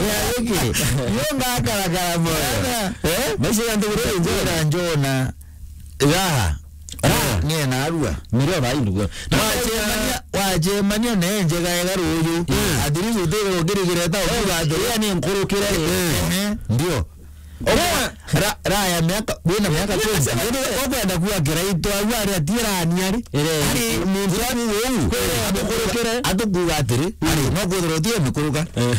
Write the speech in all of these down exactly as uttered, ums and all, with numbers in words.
Ya, iki. Yo ngakarakara moyo. Eh? Maisha ya ndugu rĩu njona. Raha. Raha. Niĩ narua. Nĩrĩo thaa ii ndugu. Na wacemania, wacemania na njega ega rũũjũ. Mm. At least ũtĩgĩrwo ngĩrĩgĩra ta ũkiuga atĩ, "Ĩya nĩ nkurukĩre." Ehe, ndio. Ũguo, ra-, raya miaka, wina miaka twenty. Indi ukwenda kuga kiraitwa au ari atiirania ri? Ire. Ari muntu au uu. Kwire amukurukire. Atukuga atiri, ari, no kwithirwa utie mikuruka. Eh.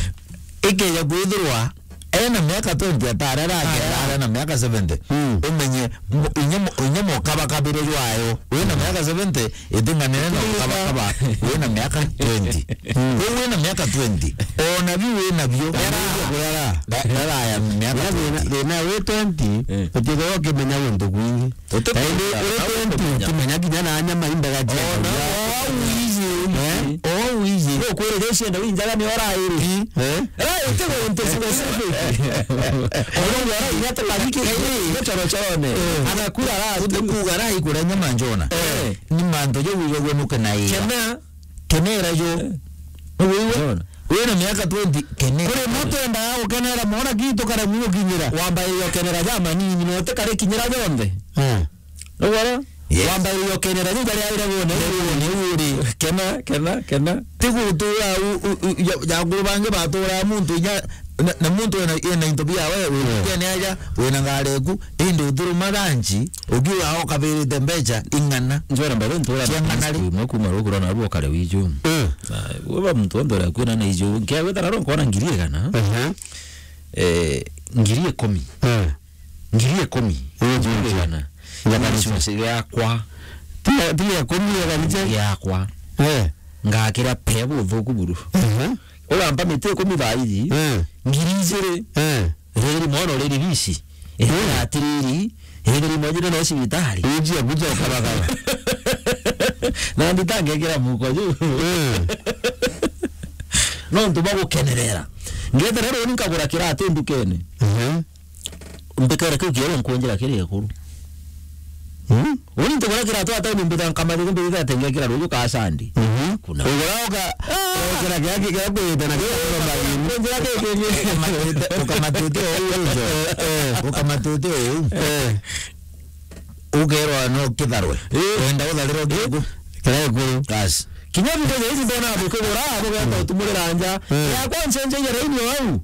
Ikeja kwithirwa ena miaka twenty atare, rake arare na miaka seventy. Mm. Umenye, mo-, inya mo-, inya mukabakabire jwayo. Wina miaka seventy, itinganene na ukabakaba wina miaka twenty. Mm. Kuu wina miaka twenty. Ona biu wina bio. Era, era ya miaka twenty. Thina wi twenty, eh, utithagwa ukimenya guntu kwingi. Uti- Kaindi uri twenty, ukimenya kinya na nyama imbaga cia. Ona o au iji. Eh? O au iji. Ukwirire cienda winjaga ni ora iri. Eh? Ra, uti guntu specific. Ona ora inya tukabiki gicorocorone. Eh. Agakura ra. Uti kuga ra ikura nyama njona. Eh. Ni mantu jau ijagwe nuke na ira. Kena. Kenera jo. Eh. Wigua? Njona. Wina miaka twenty, kenera. Kuri muntu endaga gukenera mwana kitu kare mugukinyira. Wambairia ukenera ja manini, no utikare kinyira jonthe. Eh. Nugwara? Yes. Wambairia ukenera ju jaria aire wone, wone uri. Kena, kena, kena. Ti gutura u, u, u, ja, ja nguru bangi batura muntu inya, na, na muntu ena, ena into bia we, we, mm, kene aja, wina ngari eku, indi uthuruma ranchi, ukiuga okabirite mbeca ing'ana. Njwera mbere ntura cia ng'ana ri? Mwe kuma ruguru na ruo kare wiju. Mm. Na, we ba muntu onthe uria kwina na iju, nkia gwetha na ronko na ngiri igana. Ehe. Eh, ngiri ikumi. Mm. Ngiri ikumi. Ii, ii, ii. Igana. Igana. Insurance yakwa. Tiga, tiga ikumi ya kanisa? Yakwa. Eh. Ngakira pea buthuku buru. Ehe. Urampa miti ikumi thaa iji. Eh. Ngiri ijiri. Eh. Riri mwana uri ribisi. Eh. Ethira atiriri. Ethira imwe jiri no cibitari. Iji akuja ukabakaba. Na nditangekira muko ju. Eh. Nontu bwa gukenerera. Ngethira runi nkagura kiratu ndukene. Ehe. Mbikare kiu kieru nkunjira kiri gikuru. Mm. Uni ntigura kiratu ata ni mbita nkamari kumbi ita tenge kira ruju ka sandi. Mhm. Kuna. Ugura uka, ah, ukira kia ki, kia kwita na kia kuromba ini. Nkunjira ki, ki, ki. Ukamatite, ukamatite o uu rujo. Eh, eh. Ukamatite o uu. Eh. Ukerwa no kitharwe. Eh. Wenda utharirwa kiku. Kira gikuru. Basi. Kinya video ja ici ndona bukigura, bugeta utumurira nja. Mm. Yakwa ncenjeire raini o au.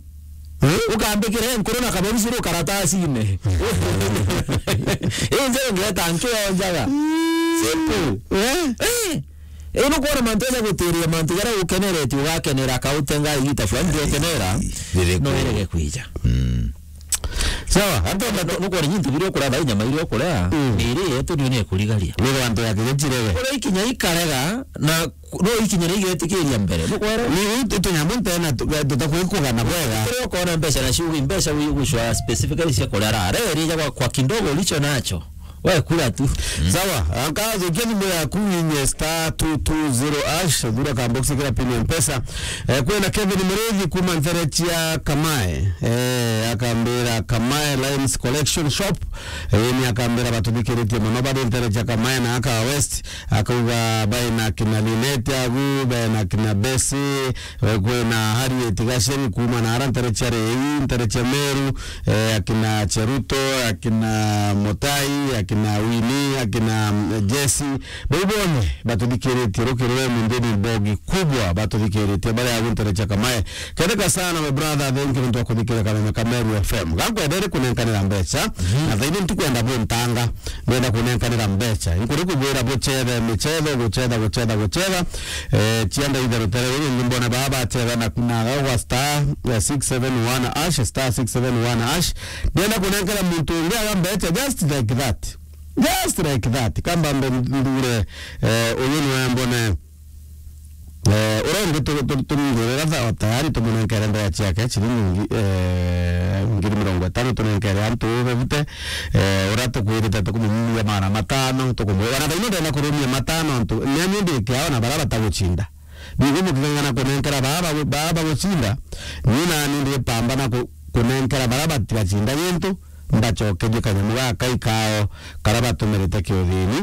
Mm. Ukambikira nkuru na kaborusi ru karatasine. Inje ngeta nkionjaga. Simple. Eh? Eh. Ino kwona mantu ja gutiria mantu jaria ukeneretie ugakenera kautenga igita fulani ndio kenera. Riri no ku- erege kwija. Mm. Sawa, antu no, no, nukwona nyintu biria ukuria thaa inya mairia ukuria, mm, miri yetu niyo ni ikurigaria. Ni antu ya kinya kirege. Kuria ikinya ikarega, na ku-, no ikinya ria igetikiria mbere. Nukwera? Ni itu tunyamu ntena tu-, tutakwikugana bwega. Kuria ukona mbeca na ciugi, mbeca wi gucwa specifically cia kuria ra, re rija kwa, kwa kidogo ulicho nacho. We kura tu. Mm. Sawa, akathũkia thimũ yaku inye star two two zero hash, thura ka box kira pin ya Mpesa. Eh, kwina Kevin Murithi kuma ntere cia Kamae. Eh, akambira Kamae Lines Collection Shop. Eh, ni akambira batuthikiritie muno bari ntere cia Kamae na aka West. Akauga baina kina Linet agu, baina kina Besi, eh, kwina Harriet Gaceri kuma na ara ntere cia Rei, ntere cia Meru, eh, akina Cheruto, akina Mutai, akina Winnie, akina, mm, Jesse. Bau bonthe batuthikiritie rukiri rwa Mundini Mbogi kubwa batuthikiritie bari agu ntere cia Kamae. Kendeka sana my brother, thank you nontu wa kuthikiria kameme ka Meru F M. Gakwendere kunenkanira mbeca, mhm, na thaini ntikwenda buntanga, ndenda kunenkanira mbeca. Inkuri kubwira bucethe micetho, gucetha, gucetha, gucetha. Eh, cianda ithe rutere ruru, ni mbona baba bacetha na, na gwa star, eh, six seven one hash, star six seven one hash. Ndenda kunenkera muntu ungi aga mbeca just like that. Just like that. Kamba mbe ndure, eh, uyu niwe mbone. Eh, uria ungi tu-, tu-, tumwirira tha-, tayari tumunenkere mbeca ciake, ciringi ngi-, eh, ngiri mirongo itano tunenkere antu bebute. Eh, uria tukwirite tukumumia magana matano, tukumwira, na thaino ndenda kurumia matano antu, ni ani ndi kiao na baria batagucinda. Bigu muking'ang'ana kunenkera baa bagu-, baa bagucinda, ni nani ndi pambana ku-, kunenkera baria batigacinda gintu, mbacokerie kanyamu gakai kao karia batumirite kiuthini.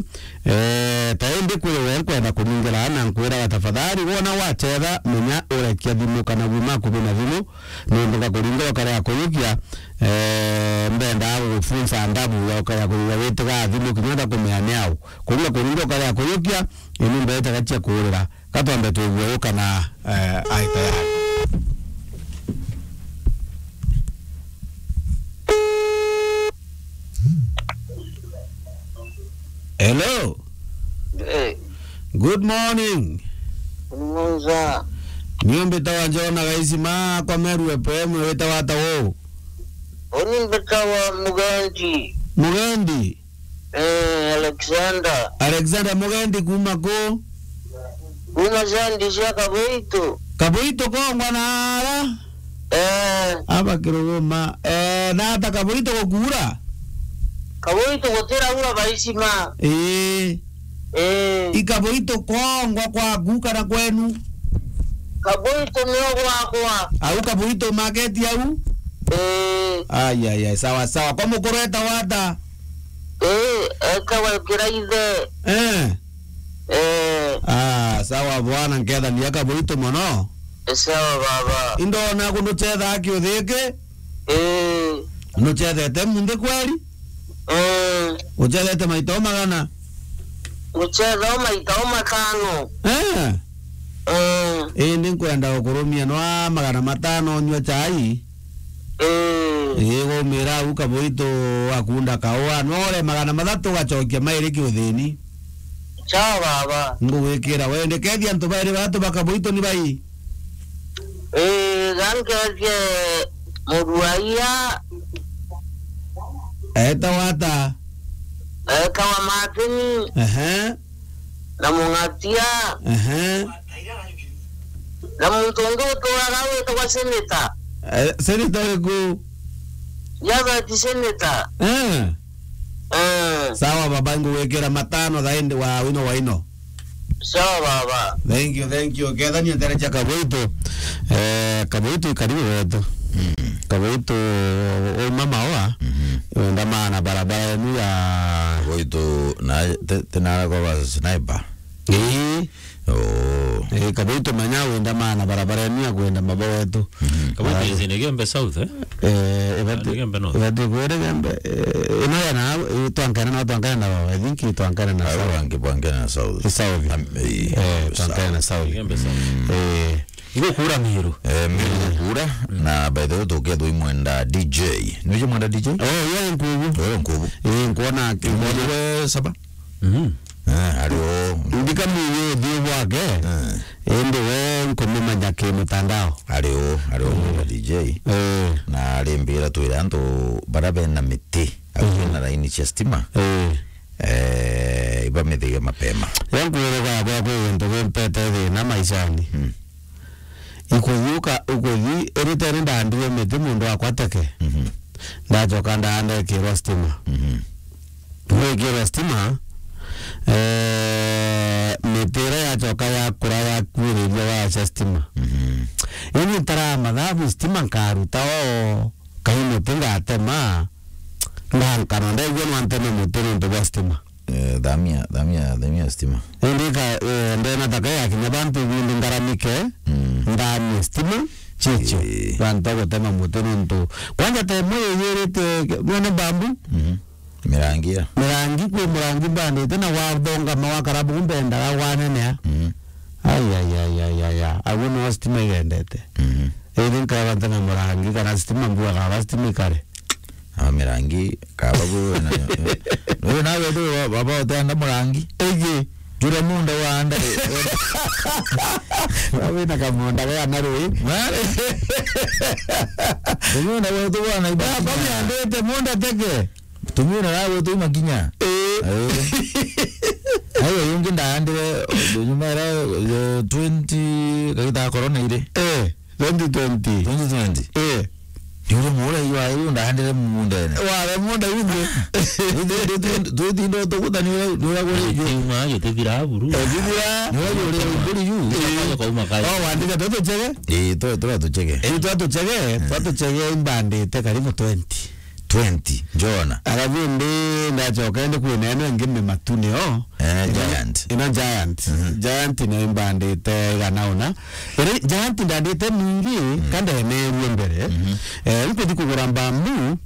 Eh, ta indi kwi we nkwenda kuningira na nkwiraga, tafadhali, wona wachetha, menya urekia thimu kana guma akubi na thimu, nontu ngakuringira ukarea kuyukia, eh, mbendaa gugufunza ndabu ya ukarea kuyukia witigaa thimu kinya ndakumea ni au. Kuringa kuringira ukarea kuyukia, ini mbeetaga cia kuurira. Ka twambe twigue uu kana, eh, ai tayari. Hello. Eh. Good morning. Good morning, sir. Niu mbitawa Jona Gaisima kwa Meru F M, witawa ata uu? Uni mbitawa Mugendi. Mugendi? Eh, Alexander. Alexander Mugendi kuma ku? Kuma Sandi cia Kaboito. Kaboito kongwa na ara? Eh. Aba kiruguma. Eh, na ata Kaboito gukura? Kaboito gutiraura baisima. Ii. Eh. I Kaboito kongwa kwaku kana kwenu? Kaboito nio gwakwa. Au Kaboito market au? Eh. Ai, ai, ai, sawa, sawa. Kwa mukuru etawa ata? Eh, etawa Kiraithe. Eh. Eh. Ah, sawa bwana, nkethania Kaboito mono. Eh, sawa baba. Indona kundu chetha kiuthiki? Eh. Nuchethete munthi kweli? Eh. Uchethete maita o magana? Nguchetha o maita o matano. Eh. Eh. Indi nkwenda gukurumia nwa magana matano nyua chai. Eh. Ii, waumira au Kaboito akunda kaua, nwa ore magana mathatu ugacokia mairi kiuthini. Sawa baba. Ngugwikira wende. Kethia antu bairi batu ba Kaboito ni bai? Ii, gankeethie muruaia. Etawa ata? Etawa Martin. Ehe. Na Mung'atia. Ehe. Na muntu ungi uturaga witagwa Senator. Eh, Senator uriku? Javeti Senator. Eh. Eh. Sawa baba, ngugwikira matano thaindi wa wino wa ino. Sawa baba. Thank you, thank you. Kethania ntere cha Kaboito. Eh, Kaboito i karibu wetu. Mm. Kaboito, o mama oa. Mhm. Wenda maana barabara yenu ya Kaboito na te, te na kwa sniper. Ii. Oh. Eh, Kaboito manya wenda maana barabara yenu ya kwenda mabo wetu. Mhm. Kaboito is in Igembe South, eh? Eh, ibati, Igembe North. Ibati kwere Igembe, eh, ino ya na, eh, twankana na, twankana na, I think twankana na South. Ayo bangi bwankana na South. South. Am-, eh, eh, twankana na South. Igembe South. Eh. Ngukura Miru. Eh, Miru kura, na by the way, tukethwa imwenda D J. Nuje mwenda D J? Oh, yeah, nkubu. Oh, nkubu. Eh, nkuona ki-, nkubu we saba? Mhm. Eh, ari o. Ndika munyu uthiu bwake. Eh. Indi we nkumumenya ki mutandao. Ari o, ari o mwenda D J. Eh. Na arimbira twire antu bara bena miti, au bena laini cia stima. Eh. Eh, ibamithige mapema. Yo nkwire gwakwa kwi gintu gimpete thina maishani. Mm. Ikuthi uka-, ukuthi, iritere ndaandire miti mundu akwa teke. Mhm. Ndacoka ndaandekirwa stima. Mhm. Gwikirwa stima, eh, miti iria yacoka yakura yakuiriria waya cia stima. Mhm. Ini ntara mathabu stima nkaruta o, kai muti ngatema, ndankana ndaigua no nteme muti nontu bwa stima. Eh, thamia, thamia, thamia stima. Indi ka, eh, ndena taka yakinya bantu bundi ngaramike, mm, ndamie stima, chicho. Eh. Bantu a gutema muti nontu. Kwanja ta imwe yiyirite, mwene bambu. Mhm. Mirangi ya. Mirangi kwi murangi mbandite na wathongama wakara bu mbendaga wanenea. Mhm. Ai, ai, ai, ai, ai, ai. Aguo no stima igendete. Mhm. Indi nkaba nteme murangi kana stima mbuaga aba stima ikare. Aba mirangi, kaba bu na, uyu nawe tu baba utenda murangi. Igi. Jure munda wanda. Wawe na kamunda ga na rui. Munda wetu bwana ibaba. Baba yandete munda teke. Tumira nawe tu makinya. Eh. Eh. Ayo yungi ndaandire, nyuma era, eh, twenty, kagita corona ire. Eh. Twenty twenty. Twenty twenty. Eh. Ni uri mura iwa iu ndahandire mundene. Ware munda ungi. Twithindo tuguta ni ura, ni ura guri ju. Tiuma ayo tithira buru. Eh, tithira. Ni ura guri guri ju. Kauma kai. Oh, wandike tu tuchege? Eh, tu, tu tuchege. Eh, tu tuchege, tu tuchege imbandite karibu twenty. twenty, njona. Arabu indi ndacoka indi kwina ino ingi mimatu nio. Eh, ino, Giant. Ino Giant. Mhm. Giant nio imbandite igana una. Iri Giant ndandite mingi, mm, ka ndeneerue mbere. Mhm. Eh, nkuthi kugura mbambu,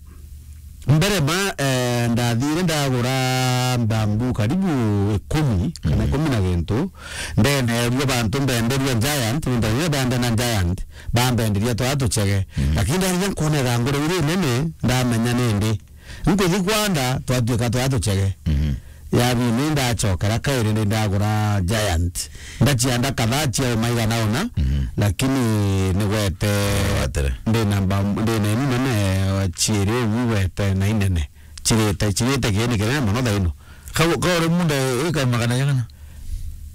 mbere ma, eh, ndathire ndagura mbambu karibu ikumi, kana, mm, ikumi na gintu. Ndeneerue bantu mbenderue Giant, nontu rire benda na Giant, bambenderia twa tuchege. Mm. Lakini ndarire nkwona igangura iri inene, ndamenya nindi. Nkuthi kwanda, twatuika twa tuchege. Mhm. Ya bini ndachokera kairi ni ndagura Giant. Ndachianda kadhaa chiauma igana una, mhm, lakini nigwete. Watere. Ndina mba-, ndina inu nene, chiiri uu igwete na inene. Chirite, chirite kiini kinene mono thaino. Kau, kauri munda ika magana jagana?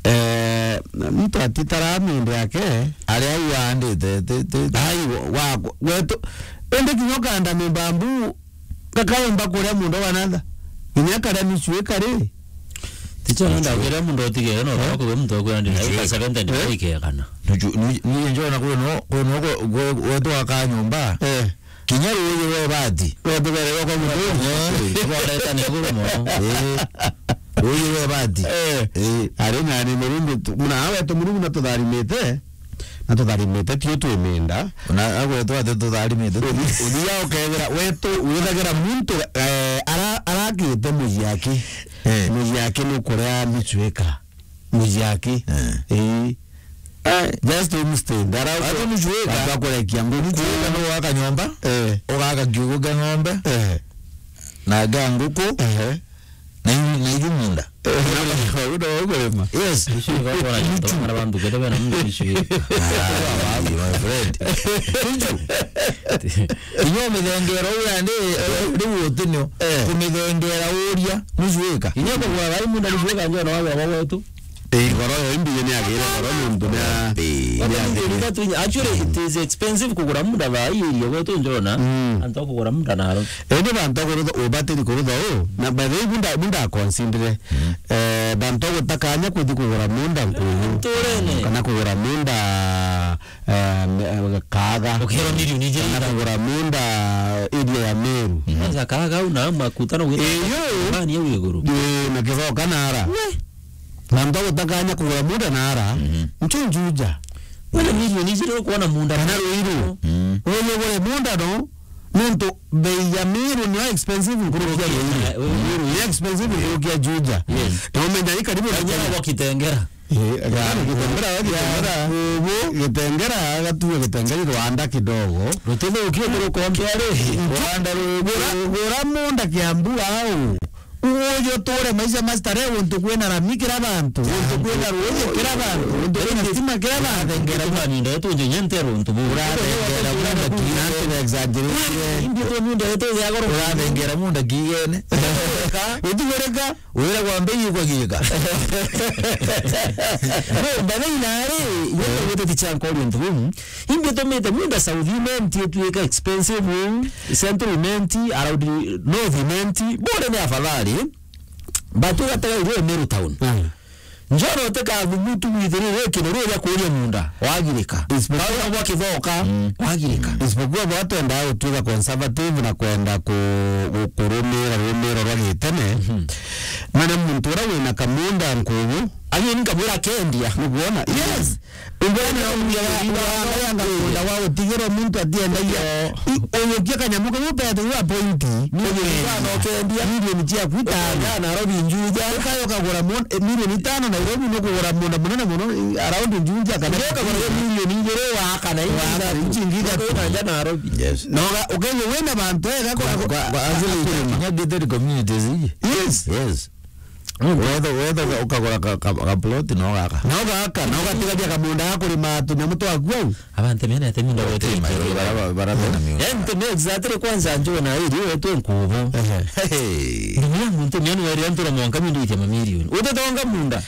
Eh, muntu atitara mindi yake. Ari au aandite, ti, ti, ti. Ai, wa, wa, gwetu. Indi kinya ukanda mibambu, kakaumba kuria muntu wanatha. Kinya karia nusu ikari. Ticho nenda kuria muntu otigere, no, eh? Kwa muntu okwenda, nusu ika ika. Seventy, eh? Ikegana. Nusu, nu-, nu-, njona kwino, kwino gwe-, gwe-, gwetu aka nyomba. Eh. Kinya ruuji rwa ibati. Rwatugererwa kwa muturi. Eh, rwareta ni iguru mono. Eh, ruuji rwa ibati. Eh. Eh. Ari nani Murungu tu-, muna wetu Murungu na tutharimite, na tutharimite tio twi minda. Na agwetu ati tutharimite. Uthi-, uthia ukethira wetu, withagira muntu, eh, ara-, arakite muji aki. Eh. Muji aki nukuria micwika. Muji aki. Eh. Ii. Eh, just homestead. Ara ati muji wika. Watu akurekia nguku. Muji wika no waka nyomba. Eh. Ugaka kiugo kia ng'ombe. Eh. Na kia nguku. Ehe. Na iu, na iu munda. Eh, no, no, no, kurima. Yes. Icio igakora ni tonga na bantu kete bena muntu icio. Ah, my friend. Icio. Inyo mithengera uria ndi, eh, riu utinio. Eh. Kumithengera uria, nusu ika. Inyo kugura gai munda nusu ika njona wa gwa gwetu. Eh, goro yo imbiye ni agire goro nontu na. Ii. Watu ni ngiri tatu inya. Actually, it is expensive kugura munda thaa ii iria gwetu njona. Mm. Antu kugura munda naro. Indi bantu kurutha, ubatiri kurutha u. Na by the way, bunda, bunda consider. Mm. Eh, bantu gutakanya kuthi kugura munda nkuyu. Nturene. Kana kugura munda, eh, me-, eh, Kaaga. Ukero milioni ijiri. Kana kugura munda area ya Meru. Mm. Kwanza Kaaga au na makuta no gwita. Iyo. Mani au iguru. Ii, na Kithoka nara. We. Na muntu agutakanya kugura munda nara, mhm, ncho Juja. Wena milioni ijiri ukwona munda. Kana Ruiru. Mm. Uyu ugure munda no, nontu bei ya Meru niyo expensive nkurukia Ruiru. Eh, Ruiru. Ni expensive nkurukia Juja. Yes. Na umenya i karibu na Kenya. Kenya. Kitengera. Eh, ya, Kitengera, ya, Kitengera. Ubu. Kitengera, agatuga Kitengera ni Rwanda kidogo. Rutithukie kurukombea ri. Rwanda rubu. Gura, gura munda Kiambu au. Uju uture maisha ma starehe, guntu kwina rami kira bantu, guntu kwina ruuji kira bantu, guntu kwina stima kira bantu. Urathengera munda yetu nje nyente runtu bu. Urathengera munda ki-, na antu exaggerate. Indi tu munda yetu ya goro. Urathengera munda kigene. Utigurika. Wira gwa mbei ukagiika. No, mbaga inari, yetu yetu ticha nkori untu bu. Imbi tumite munda South Imenti itwika expensive, Central Imenti, around North Imenti, bure ni afadhali. But ugatega irio Meru town. Mm. Njoro uteka thubutu withirire kinoru ya kuria munda, wagirika. Isipokuwa bau gwa Kithoka, mm, wagirika. Isipokuwa bwatwenda gutwika conservative na kwenda ku-, ku-, kurumira rumiro rwa gitene. Mhm. Mana muntu ura wina kamunda nkubu, ageni kabura kendia. Nukwona? Yes. Ungwene no munda wa, wa, wa, wa, wa, wa, wa, wa, utigirwo muntu atiendagia. Yo. I-, uyukia kanyamu kau pethe wa pointi. Milioni tano ukendia. Milioni ciaku itano. Ukendia Nairobi Juja. Ukayo kagura mon-, eh, milioni tano Nairobi no kugura munda munene muno, eh, around Juja kana. Ndio kagura milioni igiri wa kana ingi. Wa kana ingi ithatu. Ukayo na nja Nairobi. Yes. No ga-, ukenye wena bantu ega kwa, kwa, kwa, kwa, actually, kinya gated communities iji. Yes. Yes. Wetha, wetha uka-, ukagura ka, ka, ka plot no gaka. No gaka, no gatigaria kamunda ga kurima tunyamu twaku au. Abantu mena ete munda gwetu. Bara, bara, bara bena miunda. Ente me exactly kwanza njona iri wetu nkubu. Ehe. Hey. Ndugu yangu nte miani wari antura mwanka mindu itia mamilioni. Utetonga munda.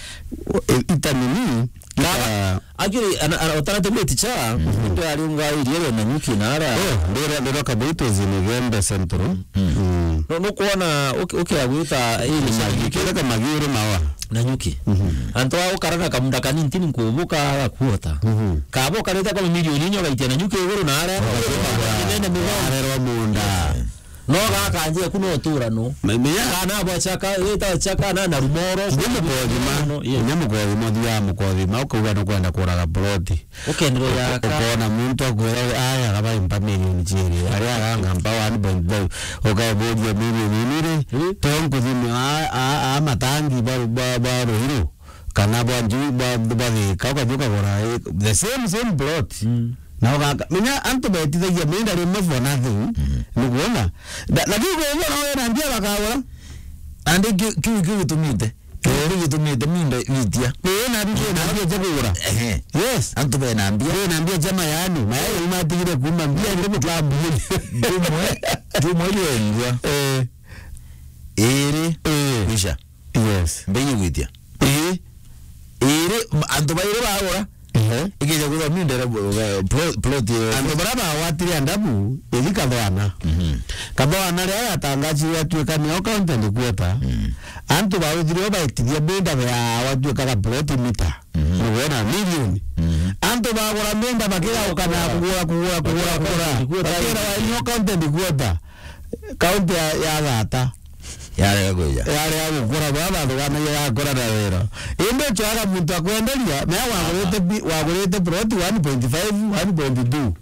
O, e, itanini. Kaba, actually, ana, ana, utaratumite cha, mm, muntu ari unga iria we Nanyuki na ara. Oh, ndira, ndira Kabuitu zini Gembe Central. Mm. Mm. No, no kuona, uki-, ukira gwita iri Nanyuki. Kama giuru mawa. Nanyuki. Mhm. Antu a ukara na kamunda kanini ntini nkubuka agakuota. Mhm. Kabo kareta kwa milioni inyo gaitia Nanyuki iguru na ara. Nene migao. Arerwa munda. No gaka nje ku no tura no. Me-, menya kana bwa chaka, wita chaka na, na rumoro. Kinya mukothima, no, yes. Kinya mukothima, thiaga mukothima, ukauga nukwenda kuraga ploti. Ukenderwa ya ka- Ukona muntu akwira, "Aya, gaba impa milioni chiiri." Aria aganga mpa one point five. Ukaeburia milioni inire. Hmm? To nkuthime a, a, a matangi ba, ba, ba Ruiru. Kana bwa nju, bwa, bwa Thika, ukathi ukagura, eh, the same, same plot. Mm. Na ugaka-, menya antu betithagia mienda rimwe for nothing. Mm. Niguona? Na, lakini kwa hivyo, nawe na mbia bakagura. Andi kiu, kiu, kiu gitumite. Kiu, kiu gitumite mienda itia. Eh, na mbia, na mbia cia kugura. Ehe. Yes. Antu bena mbia. Bena mbia cia mayani. Mayani matigire kuuma mbia, ndio mukambuni. Jumwe, jumwe ile ngwa. Eh. Iri. Eh. Kwisha. Yes. Mbei igwitia. Ii. Iri, m-, antu bairi bagura. Ehe. Ikija kwithwa mindere bu-, bu-, plo-, plot iyo. Antu baria bagwatire andabu, ithi Kathwana. Mhm. Kathwana riria yatangachirwe atuika nio county headquarter, mm, antu bauthire baitithia minda ya watuikaga plot mita. Mhm. Nigwona milioni. Mhm. Antu bagura minda bakigauka na kugura, kugura, kugura, kugura. Bakira wa nio county headquarter. Kaunti ya, ya Gata. Yarega kwija. Yarega gukura, baba thuganagĩa gakora na wira. Indi ucoaga muntu akwenderia, na wagurite bi-, wagurite plot one point five, one point two.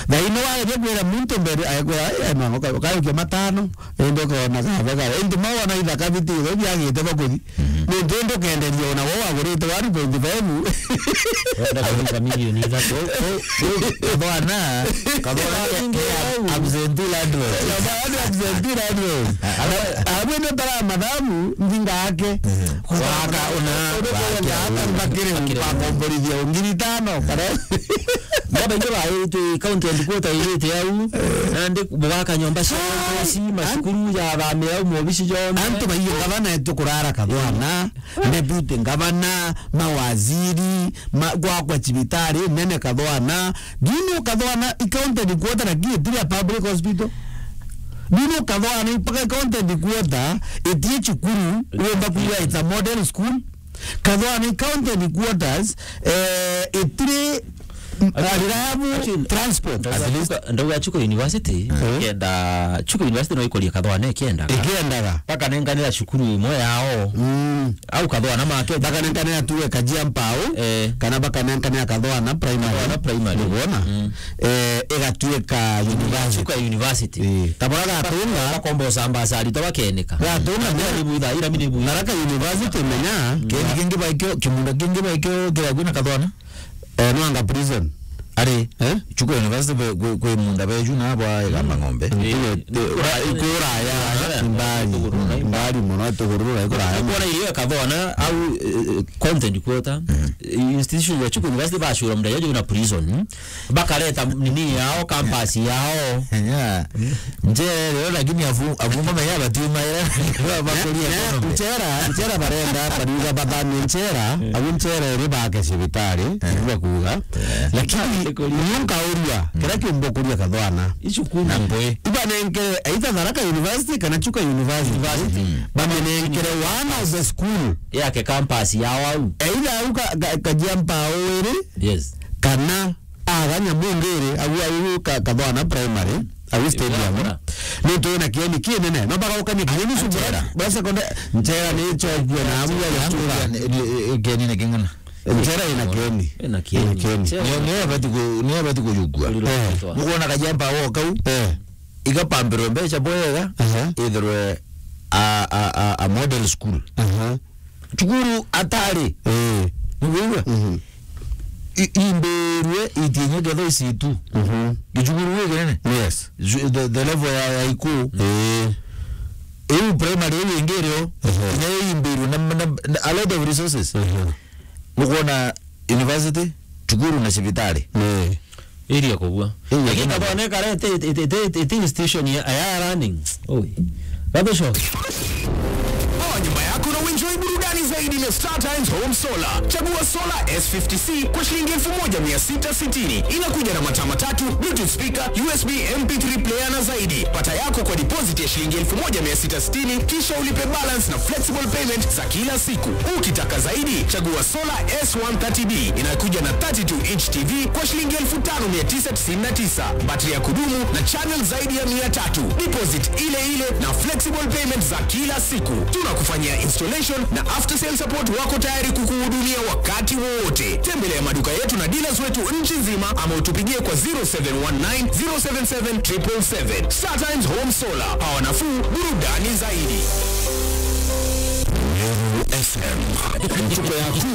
Na ino wageria kwira muntu mbere, akwira, "Ai, ai, mama, uka-, ukaukia matano." Indi ukona kaba kaba. Indi mawona ithaka biti, biagite bakuthi. Mhm. Nontu indi ukenderia ona wo wagurite one point five. Wenda kuruga milioni ithatu. Kathwana, Kathwana ke, ke absentee landlord. Kathwana ni absentee landlord. Abwe ndo tara mathabu, nthinga yake. Mhm. Waka una, waka una. Bakire, bakire, bakomborithia ngiri itano, kana. Baba ingi baite, county headquarter irite au, nandi bugaka nyomba cia ngoci, macukuru ya bamira au, mobici jonthe. Antu baingi ngavana etu kurara Kathwana. Deputy ngavana, mawaziri, ma-, gwakwa cibitari nene Kathwana. Do you know Kathwana i county headquarter lakini itiri a public hospital? Do you know Kathwana i mpaka county headquarter itie cukuru, wemba kuiga it's a model school? Kathwana i county headquarters, eh, itiri M-, ah, reliable transport. Ndauga Chuka, ndauga Chuka University, eh, kenda, Chuka University no ikorie Kathwana ikiendaga. Ikiendaga. Bakanenkanira cukuru imwe yao. Mm. Au Kathwana make. Bakanenkanira tuwe Kajia Mpau, eh, kana bakanenkanira Kathwana Primary. Kathwana Primary. Nigwona? Mm. Eh, igatuika university. Chuka University. Eh. Tabora gatunga. Bakomba usamba asari, tabakeneka. Gatunga. Ira mini buitha, ira mini buitha. Tharaka University, menya, mm, kendi kingi baikio, kimunda kingi baikio, kira kwina Kathwana. Eh, no anga prison. Ari, eh? Chuka University be, kwi, kwi munda beju na bwa Igamba Ng'ombe. Mm. Eh, kura-, kuraya, kuraya, mbali, mbali muno, tugurura, kuraya. Kuona ile Kathwana au, eh, county headquarter, mm, institution ya Chuka University bacura munda yeju na prison. Bakareta nini yao, campus yao. Yeah. Nje leo lakini afu-, afunga maya batiuma era bakuria economy. Nchera, nchera barenda, bariuga bathamie nchera, eh, abu nchera iri bake cibitari, eh, ndio kuuga. Eh. Lakini ndio kuuga. Nunka uria, mm, kira kiumbo kuria Kathwana. Icukuru. Na mbwe. Ibanenke, either Tharaka University kana Chuka University. University. Mm. Bamenenkere one of the school. Yake campus yao au. Either au ka, ka, Kajia Mpau iri, yes, kana Aga Nyamungiri, agu, agu ka-, Kathwana Primary, agu stadium. Nontu wina kieni kinene. No bagaukania kieni. Nchera. Bwa secondary, nchera ni chokua na abu ya chunga. Ni, ni, ni, kieni ni king'ana. Nchera ina kieni. Ina kieni. Ina kieni. Nchera. Ni, ni abati ku-, ni abati kuyukua. Eh. Nugona Kajia Mpau kau. Eh. Igapambirwe mbeca bwega, aha, ithirwe a, a, a, a model school. Aha. Cukuru atari. Eh. Nigwigua? Mhm. I-, imbirwe itinye ketho isitu. Mhm. Gicukuru giki nene. Yes. Ju-, the, the level ya, ya iku. Eh. Iu primary iu ingi irio, ehe, inya imbirwe na, na, na a lot of resources. Ehe. Nukwona university, cukuru na cibitari. Eh. Area kubua. Area kubua. Lakini kabone kare iti, iti, iti, iti, iti institution ya, ya learning. Oi. Gathuco. O nyumba yaku no enjoy burudani. Burudani zaidi na Star Times Home Solar. Chagua Solar S fifty C kwa shilingi elfu moja mia sita sitini. Inakuja na mataa matatu, Bluetooth speaker, U S B M P three player na zaidi. Pata yako kwa deposit ya shilingi elfu moja mia sita sitini, kisha ulipe balance na flexible payment za kila siku. Ukitaka zaidi, chagua Solar S one thirty D. Inakuja na thirty-two inch T V kwa shilingi elfu tano mia tisa tisini na tisa. Battery ya kudumu na channel zaidi ya mia tatu. Deposit ile ile na flexible payment za kila siku. Tunakufanyia installation na after sale support, wako tayari kukuhudumia wakati wowote. Tembelea maduka yetu na dealers wetu nchi nzima, ama utupigie kwa zero seven one nine, zero seven seven, triple seven. Star Times Home Solar, pawa nafuu, burudani zaidi. Meru F M. Ntuko yaku